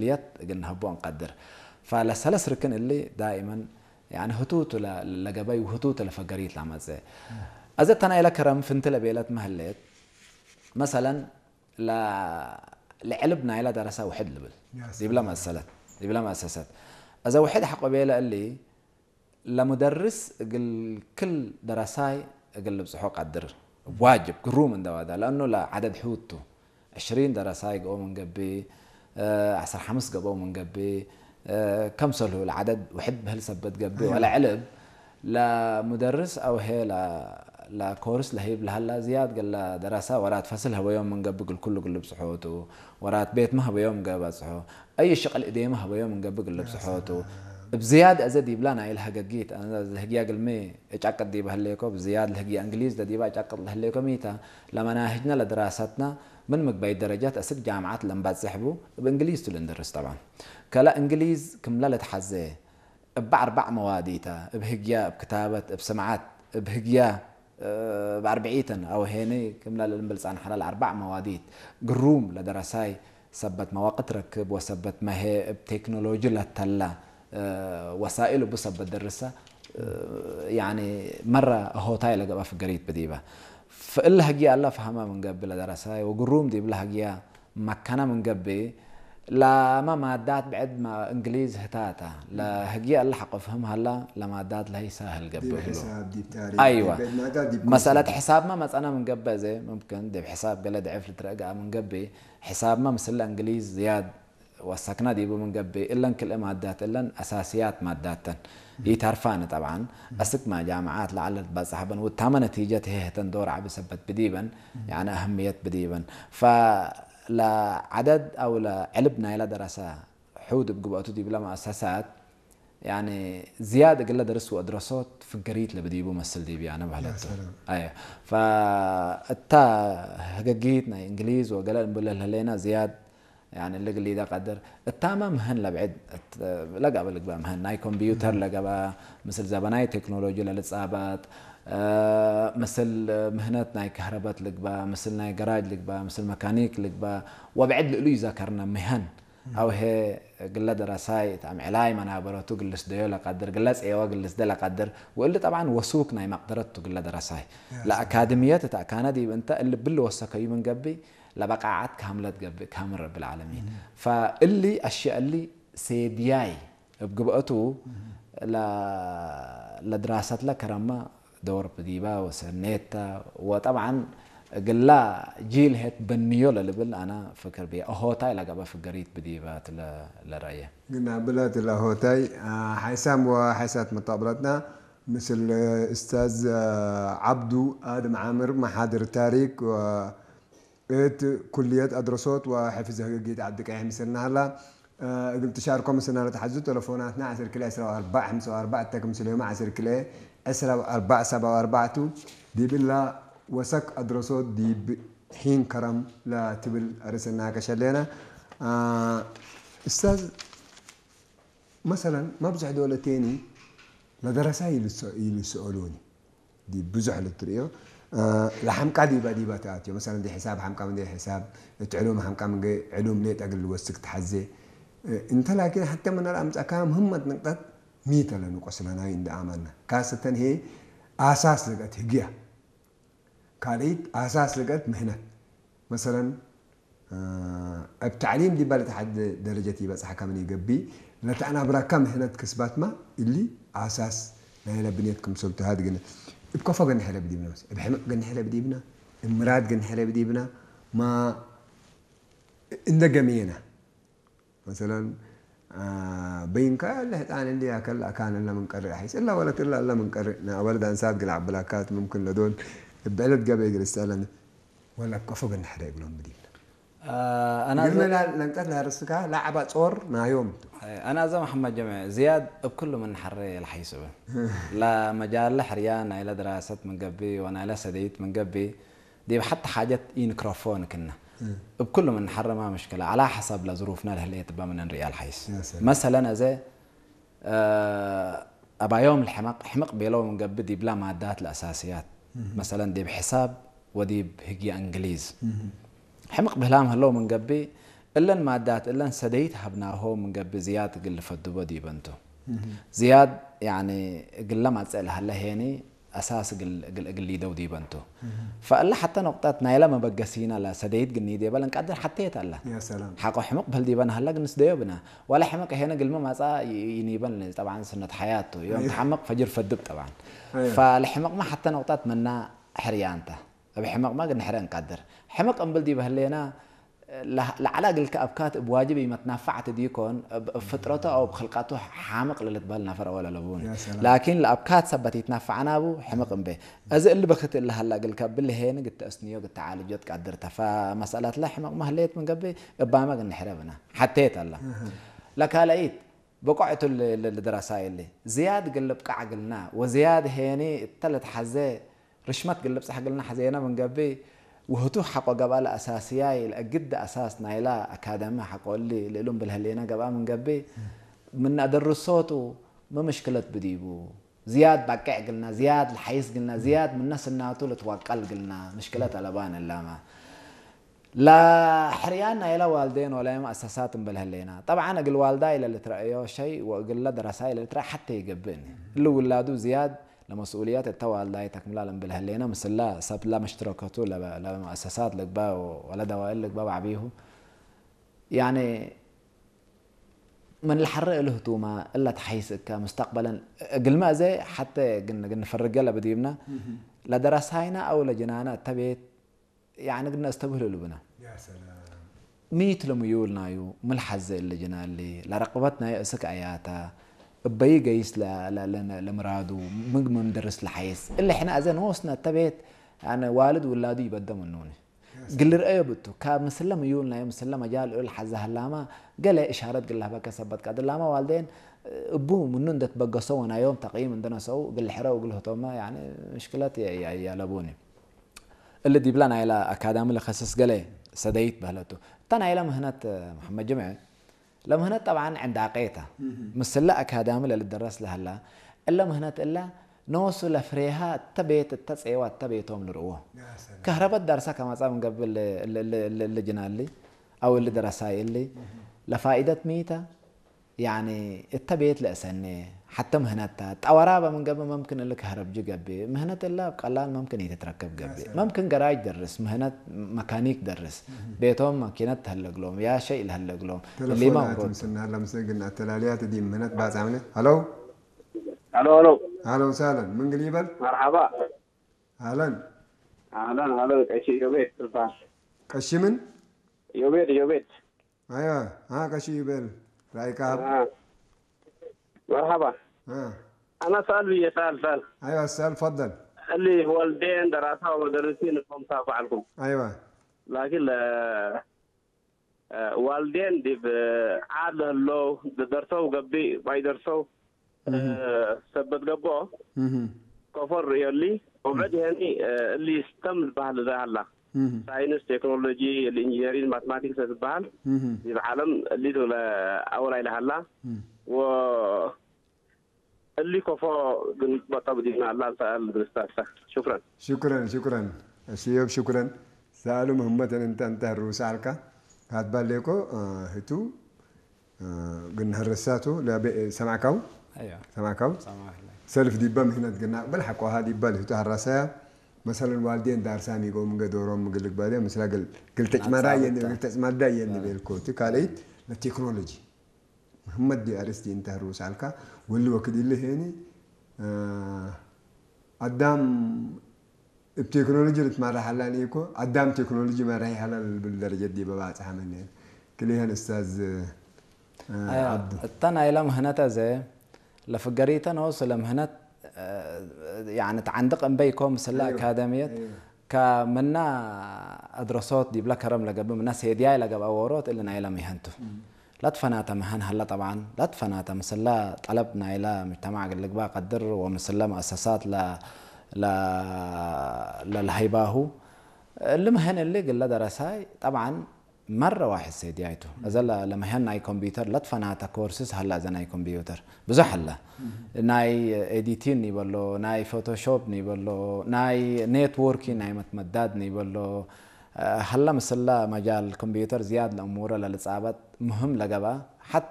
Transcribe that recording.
اليات قلنا هبون قدر. فلسلس ركن اللي دائما يعني هتوت ل- لقبي وهتوت لفقريت لمزة. أزت أنا إلى كرم فنت لبيلت مهلت مثلا ل لعلبنا إلى درسة وحد لبل. يا دي بلا سلام. مسألة، دي بلا مؤسسات. أزا وحد حق بيلا اللي لمدرس قل كل درساي قل بصحو قدر واجب قروم من دوادا، لأنه لا عدد حوتو عشرين درساي قو من قبي، آه، عشر حمس قبو من قبي، آه، كم سلو العدد وحد بهل سبت قبي أيوة. ولا علب. لا مدرس أو هي لا لا كورس لهيب لهلا زياد قال لا دراسة ورات فصل هو يوم من قبل كل قل بصحوته، ورات بيت ما هو يوم قبل صحو، أي شغل إدي ما هو يوم من قبل قل بصحوته. بزياد أزد يبلان هاي الهجاجيت، أنا هجيا قل مي إتشاكد دي بهليكو بزياد الهجي إنجليز ده دي بقى إتشاكد لهليكو ميتا. لما ناهجنا لدراستنا من مقبي درجات أسد جامعات لم بتصحبو بإنجليز تلندرس طبعا. كلا إنجليز كم لا لتحزي بأربع مواديتا، بهجيا، بكتابة، بسمعات، بهجيا، آه، بأربعيتن أو هيني كم لا لنبلس عن حلال أربع مواديت. قروم لدرساي سبت مواقع تركب وسبت ما هي بتكنولوجيا لتلا، آه، وسائل بسبت درسة، آه، يعني مرة هوتاي لقبا في قريت بديبة. فإلا هجي الله فهمها من قبل درساي وقروم دي بلا هجيا مكانا من قبي. لا ما مادات بعد ما إنجليز هتاتا. لا هجي الله حق فهم هلا، لا مادات لا يسهل دي قبل. حساب، دي تاريخ، أيوة. دي مادة، دي مسألة كونسبت. حساب ما مسألة من قبل زي ممكن دي بحساب قال ضعف لترقع من قبي. حساب ما مثل إنجليز زياد وسكنا ديبو من قبي إلا كل مادات إلا أساسيات ماداتن. يتعرفان طبعا أسك ما جامعات لعل بس حبن وتام نتيجة هي هتن دور عبي سبت بديبن، يعني أهمية بديبن. فلا عدد أو لا علبنا إلى دراسة حود بقبعته دي بلا مؤسسات، يعني زيادة قلة درس وأدرسوت في قريت لبديبو مسل دي بيانا يا بهلتو. سلام. أيه. فأتا هجاجيتنا إنجليز وقلال نبول لهلينا زياد، يعني اللي قلي ده قدر التامة مهن لبعد، الت- لقى بالقبا مهن ناي كمبيوتر لقى با مثل زبناي تكنولوجيا للصابات، آه، مثل مهنات ناي كهربات لقبا، مثل ناي جراج لقبا، مثل ميكانيك لقبا، وبعد لقلو يذكرنا مهن. أو هي قلة دراساي تام علاي منابرتو قلس ديو لقدر، قلس إيوا قلس ده لقدر، وإلا طبعا وسوق ناي مقدرتو قلة دراساي. يا لا أكاديمية تاع كان دي أنت اللي بل وسكي من قبي، لبقعات كاملة قبي، كامل رب العالمين. فاللي أشياء اللي سيدياي بقبعته ل لدراسة لا كرامة دور بديبا وسنيتا، وطبعا قلا جيل هت بنيو للبل أنا فكر بيا أهوتا إلى قبا فقريت بديبا ل لرأيه. قلنا بلاد الأهوتاي، آه، حيسام وحيسات مطابلتنا مثل، آه، أستاذ، آه، عبدو آدم عامر محاضر تاريخ و إت كلية أدرسوت وحفظ هجيت عبد القاهر مثلنا هلا. آه، قلت شاركوا مثلنا لتحزو تلفوناتنا عشر كلا عشرة وأربعة خمسة وأربعة تكم سليوم عشر كلا عشرة وأربعة سبعة وأربعة تو. دي بالله وسك أدرسوت دي ب- حين كرم لا تبل أرسلنا كشلينا. آه، أستاذ مثلا ما بزح دولة تاني لدرسة يلس- يلسألوني دي بزح للتريو. آه، لحمقا ديبا ديبا تاتيو مثلا دي حساب حمقا من دي حساب، تعلوم حمقا من دي علوم ليت أقل وسك تحزي. آه، انت لكن حتى من الأمس أكام همت نقطة ميتا لنقص لنا عند أماننا كاسة هي أساس لقت هجية. ካልኢት ኣሳስ ልቀት ምህነት መሰለን ኣብ ታዕሊም ዲባ ለተሓደ ደረጀት ይበፅሓካ ምን ይገቢ ለተኣናብራካ ምህነት ክስባትማ እሊ ኣሳስ ናይ ለብንየት ክምሰል ተሃድ ግን እብ ከፎ ገንሐ ለብዲብና እብ ሕምቅ ገንሐ ለብዲብና እብ ምራድ ገንሐ ለብዲብና ማ እንደ ገምየና መሰለን በይንካ ለህፃን እንዲ ያከል ኣካን እላ ምን ቀርእ ሐይስ እላ ወለት እላ እላ ምን ቀርእ ንኣወልድ ኣንሳት ግል ዓብላካት ምምክን ለዶን እብ ዕለት ገበይ ግል ይስአለን ወላ ከፎ ግን ሓደ ይብሎም ብዲብና ኣና ግን ለንቀት ላርስካ ላዕባ ጾር ናዮም ኣና እዛ መሓመድ ጀምዐ ዝያድ እብ ኩሉ ምን ሐረ የልሓይስበ ላ መጃለ ሕርያ ናይለ ድራሰት ምን ገቢ ወናይለ ሰደይት ምን ገቢ ዲብ ሓቲ ሓጀት ኢንክረፎን ክነ እብ ኩሉ ምን ሐረ ማ ምሽክለ ኣላ ሐሳብ ለዝሩፍና ለህለየት እባ ምን እንርእያ ልሓይስ يا سلام. መሰለን እዘ ኣባዮም ልሕመቅ ሕምቅ ቤለው ምን ገቢ ዲብላ ማዳት ለኣሳስያት መሰለን ዲብ ሕሳብ ወዲብ ህግያ እንግሊዝ ሕምቅ ብህላም ህለው ምን ገቢ እለን ማዳት እለን ሰደይት ሃብናሆ ምንገብእ ዝያድ እግል ልፈድቦ ዲበንቱ። ዝያድ ያኒ እግለ ማጸእ ለሃለ ሄኒ ኣሳስ እግል እግል እግል ሊደው ዲበንቱ። ፈእለ ሐተ ነቁጣት ናይላ መበገሲና ለሰደይት ግኒ ዲበለን ቃድር ሐቴት ኣላ። يا سلام ሐቆ ሕምቅ በል ዲበን ሃላ ግንስ ደዮ ብና። ዋላ ሕምቅ ሄነ ግልመ ማጻ ይ- ይኒበን ጠብዓን ስነት ሐያቱ ዮም ተሐምቅ ፈጅር ፈድብ ጠብዓን። أيوة. ፈለሕምቅማ ሐተ ነቁጣት መና ሕርያንታ። እብ ሕምቅማ ግንሕረ እንቃድር። ሕምቅ እምብል ዲበህሌና ለዓላ እግልከ ኣብካት እብ ዋጅብ ኢመትናፋዕ ትዲኮን እብ ፍጥረቱ ኣው እብ ክልቃቱ ሓምቅ ለልትበህል ናፈር ኣወል ኣለቡኒ። يا سلام. ላኪን ለኣብካት ሰበት ይትናፋዕ ናቡ ሕምቅ እምቤ። እዚ እሊ በክት እሊ ሃላ እግልከ ብልሄን ግተእስንዮ ግተዓልጆ ትቃድር ተፋ መሰላት ለ ሕምቅ ማህሌት ምንገብእ እባመ ግንሕረ ብና ሓቴት ኣላ። ለካለኢት ብቆዕቱ ልድረሳ የሊ ዝያድ ግልብ ቃዕ ግልና ወዝያድ ሄኒ እተ ለትሓዘ ርሽመት ግልብ ጻሕ ግልና ሐዘየና ምንገብእ። ውህቱ ሐቆ ገብኣ ለኣሳስያይ ለእግድ ኣሳስ ናይላ ኣካደሚ ሐቆ እሊ ልእሉም ብልህሌና ገብኣ ምንገብእ። ምን ኣደርሶቱ መምሽክለት ብዲቡ ዝያድ ባቅዕ ግልና ዝያድ ለሓይስ ግልና ዝያድ ምነ ስናቱ ልትዋቀል ግልና ምሽክለት ኣለባን እላማ። ለሕርያን ናይላ ዋልዴን ወላይም ኣሳሳት እምብል ህሌና። ጠብዓን እግል ዋልዳ ኢለ ልትረእዮ ሸይ ወእግለ ደረሳ ኢለ ልትረእ ሐተ ይገብእኒ። እሊ ውላዱ ዝያድ ለመስኡልያት እተ ዋልዳይ ተክምላል እምብል ህሌና ምስላ ሰብ ለመሽትረከቱ ለመ- ለመእሰሳት ልግባ ወለ ደዋእል ልግባ ባዕቢሁ። ያኔ ምን ለሐረ እልህቱማ እላ ተሓይስ እካ ሙስተቅበለን እግልመ እዘ ሐተ ግን ግን ፈርገ ለብዲብና ለደረሳይና ኣው ለጅናና እተ ቤት ያኒ ግድና እስተብህሉ ልብና። يا سلام ሚት ለምዩልናዩ ምልሓዘ እለ ጅናሊ ለረቅበት ናይ እስክ ኣያታ እበይ ገይስ ለ- ለ- ለ- ለምራዱ ምግብ ምንደርስ ለሓይስ እለ ሕና ኣዘ ንወስነ ተቤት ያኒ ዋልድ ውላዱ ይበደ ምኑኒ ግልርአዮ ብቱ ካብ ምስለ ምዩልናዩ ምስለ መጃል እሉ ለሓዘ ሃላማ ገለ እሻረት ግላህበከ ሰበት ቀድላማ ዋልደን እቡ ምኑ እንደትበገሶ ወናዮም ተቅይም እንደነሰው ግልሕረው ግልህቶማ ያኒ ምሽክለት ያለቡኒ። እሊ ዲብላ ናይላ ኣካዳሚ ለኸስስ ገለ ሰደይት በህለቱ። እታ ናይላ ምህነት መሐመድ ጅምዐ ለምህነት ጠብዓን ዕንዳቄ እታ። ምስለ ኣካዳሚ ለልደረስ ለህላ እለ ምህነት እላ ነወሱ ለፍሬሃ እተ ቤት እተ ጼዋ እተ ቤቶም ልርእዎ። ከህረበት ዳርሳ ከማጻ ምንገብእ ልጅናሊ ኣው እሊ ደረሳይ እሊ ለፋኢደት ሚታ ያኒ እተ ቤት ለእሰኔ ሐተ ምህነታ ጠወራበ ምን ገብእ መምክን እሊ ከህረብጂ ገብእ ምህነት እላ ቀላል መምክን ኢትትረከብ ገብእ መምክን ገራጅ ደርስ ምህነት መካኒክ ደርስ ቤቶም ማኪነት ተህለግሎም ያ ሸይ ለህለግሎም እሊማ ተለፎናት ውሮድ ምስና ለምሰ ግን ኣተላልያት ዲ ምህነት ባጻምነ። هلو هلو هلو هلا وسهلا من قليبل مرحبا اهلا اهلا اهلا ቀሺ ዮቤድ ትባል ቀሽምን ዮቤድ ዮቤድ ايوه ها ቀሺ ይበል ራይካ መርሓባ ها ኣና ሰኣል ብየ ሰኣል ሰኣል ايوه اسال تفضل እሊ ወልዴን ደራሳ ወመደርሲ ንኮምታ ባዕልኩም ايوه ላኪን ዋልዴን ዲብ ዓድ ለህሎ ደርሰው ገቢእ ባይደርሰው ሰበት ገብኦ مهم. ኮፎር ርእዮሊ ውዕድ ሄኒ እሊ ስተም ዝበሃል እዛ ሃላ مهم. ሳይንስ ቴክኖሎጂ ኢንጂነሪንግ ማትማቲክስ ዝበሃል مهم. ዲብ ዓለም እሊ ኣወላይ ለሃላ مهم. ወ እሊ ኮፎ ግን በጠብ ዲና ኣላ ሰኣል ብስታሳ ሽክረን ሽክረን ሽክረን እሺ ዮብ ሽክረን ሰኣሉ ምህመተን እንተ እንተ ሩሳልካ ካትባሌኮ ህቱ ግን ህርሳቱ ሰማዕካው أيوة ሰማዕካው سامح الله ሰልፍ ዲባ ምህነት ግና ቅበል ሓቋሃ ዲባ ልህቱ ሃራሳያ መሰለን ዋልዴን ዳርሳ ሚጎም ገዶሮም ምግልግ ባደ ምስላ ግል ግልተጭማዳ ናጻ የን ብታ። ግልተጭማዳ የን ቤልኮ እቲ ካልእት ለቴክኖሎጂ መሐመድ ዲ ኣርስቲ እንተ ህሩስ ኣልካ ወሊ ወክድ ይልህ የኒ ኣዳም እብ ቴክኖሎጂ ልትመራሕ ኣላን እኮ ኣዳም ቴክኖሎጂ መራሒ ሃላ ልብል ደረጀት ዲበ ባጽሓ መን ክልኤን እስታዝ ኣያ ዓብዱ እተን ኣይላ ምህነተ ዘ ለፍገሪተ ነው ስለ ምህነት ያኒ ተዓንድቅ እምበይ ኮ ምስላ أيوة. ኣካደሚየት أيوة. ከምና ኣድረሶት ዲብላ ከረም ለገብእ ምና ሴድያይ ለገብኣ ወሮት እሊ ናይላ ሚሀንቱ ላትፈናተ መሀን ሀላ ጠብዓን ላትፈናተ ምስላ ጠለብ ናይላ ምጅተማዕ ግልግባ ቀድር ወምስለ መእሰሳት ለ- ለ- ለልሀይባሁ እሊ መሀን እሊ ግለ ደረሳይ ጠብዓን መረ ዋሕድ ሴድያይቱ እዘ ለ- ለመሀን ናይ ኮምፒውተር ለትፈናተ ኮርስስ ሀላ እዘ ናይ ኮምፒውተር ብዙሕ ሀላ ናይ ኤዲቲን ይበሎ ናይ ፎቶሾፕ ይበሎ ናይ ኔትወርኪን ናይ መትመዳድ ይበሎ هلا مسلا مجال الكمبيوتر زياد الأمور للإصابات مهم لقبا. حتى